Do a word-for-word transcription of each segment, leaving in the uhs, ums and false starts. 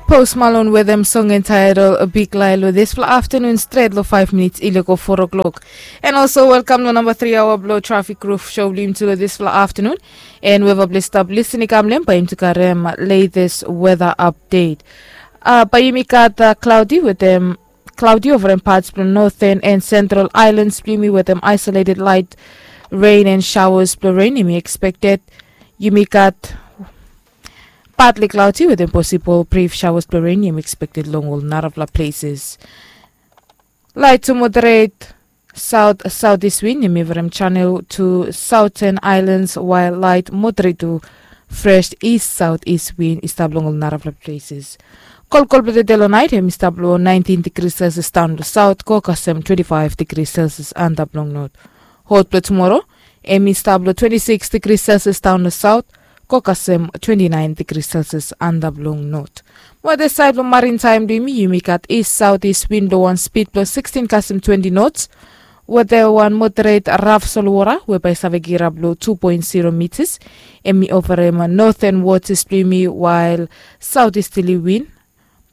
Pos Malon wetem song entaedol big lai long dispela aftanun stret long five minits i lego four o'clock. And also welkam long namba three aoa bilong trafik ruf show bilong yumi tu long dispela aftanun. And weva bilong stap lisin i kam long em bai yumi tu karem latest weather update. Uh, bai yumi gat uh, cloudy wetem cloudy over em parts bilong northern and central islands bilong yumi wetem isolated light rain and showers bilong rain yumi expected. Yumi gat partly cloudy wetem possible brief showers bilong rain yumi expected long ol narapela places. Light to moderate south southeast wind yumi from channel to southern islands, while light moderate to fresh east southeast wind i stap long ol narapela places. Kolkol bilong tete long nait em i stap long nineteen degrees celsius down to south go kasem twenty-five degrees celsius antap long north. Hot bilong tomorrow em i stap long twenty-six degrees celsius down to south go kasem twenty-nine degrees celsius antap long north. Mo disaed long marin taim bilong yumi yumi gat east southeast wind bilong wan speed bilong sixteen kasem twenty knots, wetem wan moderate raf solwota we bai save kirap long two point zero meters. Em i oferem northern waters bilong yumi while southeasterly wind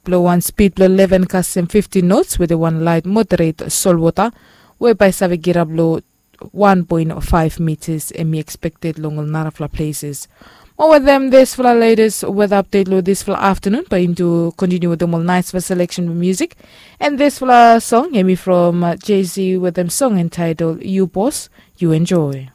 bilong wan speed bilong eleven kasem fifteen knots wetem wan light moderate solwota we bai save kirap long one point five meters em i expected long ol narafela places. Mo wetem disfela latest weather update long disfela afternoon bai yumi tu continue wetem ol nice fela selection bilong music. And disfela song em i from uh, jay-z wetem song entitled you boss. You enjoy.